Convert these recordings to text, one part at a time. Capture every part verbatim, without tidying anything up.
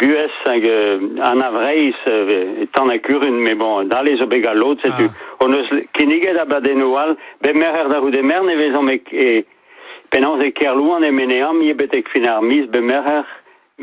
buhez hag euh, an avreiz euh, tan a kurun, mais bon, dale zo bet galot, setu. Ah. On eus kinniget abadennoù all, be merc'her da c'houde mern e vezomp e, e penaos e Kerlouan e meneam, ie betek fin ar miz be merc'her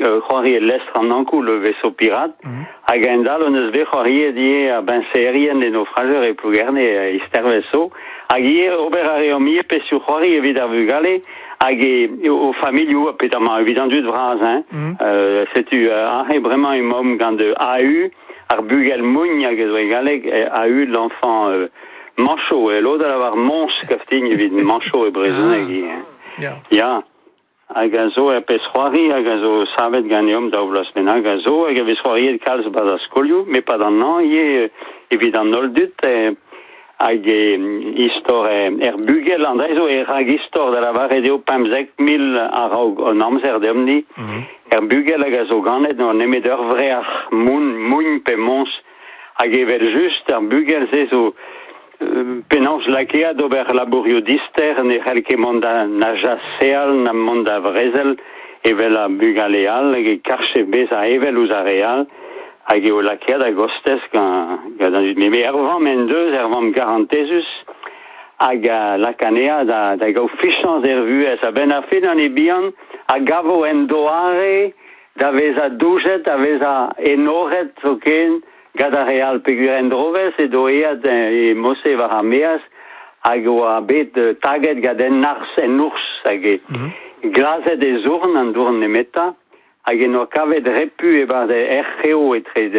euh, c'hoari e lestr an ankou le vaisseau pirate, mm -hmm. hag en dal on eus bet c'hoari die a benserien e naufrageur e Plougerne e isterveso, hag ie ober a reomp ie pesu c'hoari evit ar vugale, hag e o familiou, petamant evit an dud vraz, hein. Mm -hmm. euh, setu euh, ahe bremañ e mom gant A U, ar bugel mougn hag ez oe galleg, A U l'enfant euh, mancho, e lod a lavar mons kaftign evit mancho e brezhoneg. Ah. Ya. Ya. Hag a zo er pez c'hoari, hag a zo savet ganeomp daou vloaz bennak a zo, hag a vez c'hoariet kalz bas ar skolioù, met pa d'an an ivez evit an holl dud, eh, hag e istor er bugel, an dre zo e rag istor da lavaret eo pemzek mil a-raok an amzer deomp-ni, mm -hmm. er bugel hag a zo ganet n'o nemet ur vreac'h moun, mougn pe mons, hag evel just ar bugel se zo penaos lakeat ober labourioù dister, ne c'hell ket mont da na jaseal, na mont da vrezel, evel a bugale all, hag e karche bezañ evel ouzh ar re all, hag eo lakeat a gostez gant, gant an dud. Me er vamm en deus, er vamm garantezus, hag a lakanea da, da gaout fichañs er vuhez. A-benn ar fin an e bihan, a gavo en doare da vezañ doujet, da vezañ enoret zoken, gant ar re all peogwir en drovez e doeat e mose war ar meaz hag oa bet taget gant en arz en ours hag e mm -hmm. glazet e zourn an dourn nemeta hag en oa kavet repu e bar erc'heo etre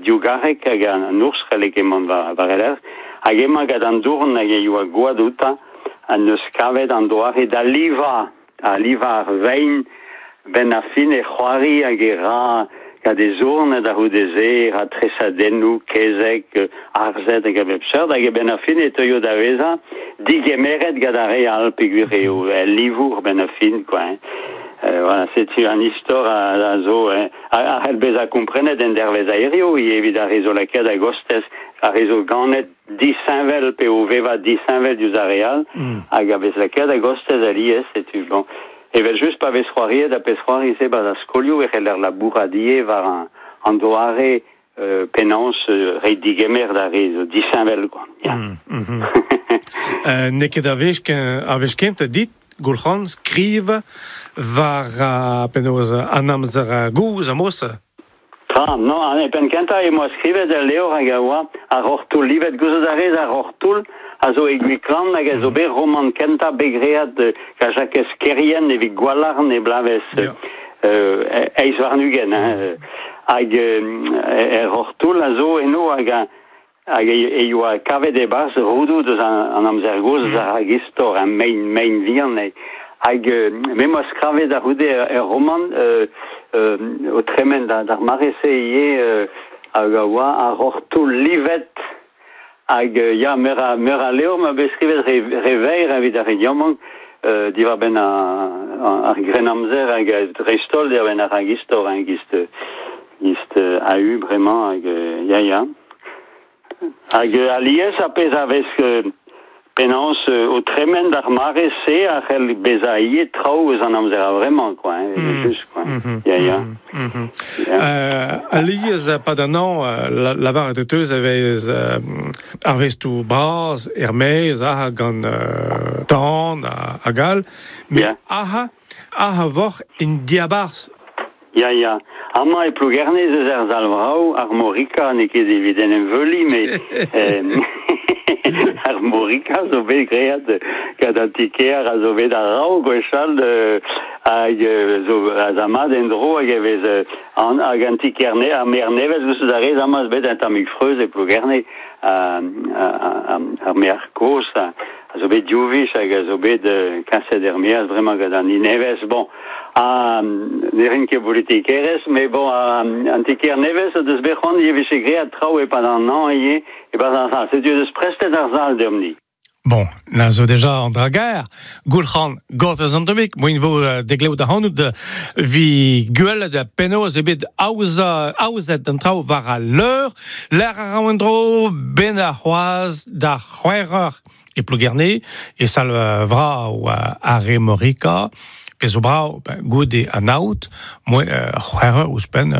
diougarek hag an ours c'helle ket mont war, war el hag emañ gant an dourn hag e oa gwad outa an eus kavet an doare da liva a liva ar vein ben ar fin e c'hoari hag e ra gant e zourn da c'houde se, ra tresadennoù, kezeg, arzet hag a bep seurt, hag e ben ar fin e teuio da vezañ digemeret gant ar re all peogwir eo el livour ben ar fin, quoi. Hein. Euh, voilà, setu an istor a, a zo, hein, a, a c'hell bezañ komprenet en dervez aerioù, evit ar re zo lakaet a gostez, ar re zo ganet disheñvel pe o vevañ disheñvel diouzh ar re all, mm. hag a vez lakaet a gostez alies, setu bon. Evel just pa vez c'hoariet a pez c'hoari se bas a skolioù e c'heller labourat ivez war an, an doare euh, penaos euh, re digemer da re zo disheñvel, quoi. Ya. Mm, mm -hmm. euh, n'eo ket ar wech ar wech kentañ dit, Goulc'han, skriv war uh, penaos an amzer gozh a mos. Tra, non, an e penn kentañ e moa skrivet el levr hag a oa ar roc'h-toull, livet gouzout a rez ar roc'h-toull a zo e Gwiklan hag a zo bet roman kentañ bet graet gant Jakez Kerrien evit Gwalarn e blavez yeah. euh, eizh warn-ugent, hein. Hag euh, er roc'h-toull a zo eno hag a hag e, e oa kavet e-barzh roudoù deus an, an amzer gozh mm. ar hag istor, un mein, mein vihan. E. Hag euh, me moa skravet a-c'houde er, er roman euh, euh, o tremen da, d'ar mare-se ivez euh, hag a oa ar roc'h-toull livet hag euh, ya meur a, meur a levr ma bet skrivet re, re veir evit ar re diamant euh, diwar-benn ar, ar grennamzer hag dreist-holl diwar-benn ar hag istor, hein, gist, gist A U bremañ hag ya ya. Hag alies a pezh a vez penaos o tremen d'ar mare-se a c'hell bezañ ivez traoù eus an amzer a vremañ, quoi, hein, mm. just, quoi. Mm -hmm. Ya, ya. Mm -hmm. yeah. euh, alies pa d'an an, lavaret e teus a vez euh, ar vestoù bras, er-maez, aha gant euh, tan hag all, met yeah. aha, aha voc'h en diabarzh. Ya, ya. Amañ e Plougerne eus er Zalvrao, ar Morika, n'eo ket evit en em veuliñ, met euh, ar Morika zo bet graet gant an ti-kêr a zo bet a-raok gwechall hag zo a zamad en-dro hag e vez an, hag an ti-kêr ne, ar maer nevez gouzout a rez amañ eus bet un tammig freuz e Plougerne ar maer kozh a zo bet div wech hag a zo bet kaset er maez bremañ gant an nevez. Bon, a ne rin ket politikerezh, met bon, an ti-kêr nevez o deus bet c'hoant e vije graet traoù e-pad an hañv ivez e-barzh ar sal. Setu deus prestet ar sal deomp-ni. Bon, na zo deja an dra gaer. Goulc'han gortoz an tammig, moin vo degleout ac'hanout vi gwelet da penaos eo bet aoza, aozet an traoù war al leur, lec'h a ra en-dro ben ar c'hoazh da c'hwec'h e Plougerne, e sal vrav ar re Morika, pe zo brav, ben, goude an aod, moi c'hwec'h ouzhpenn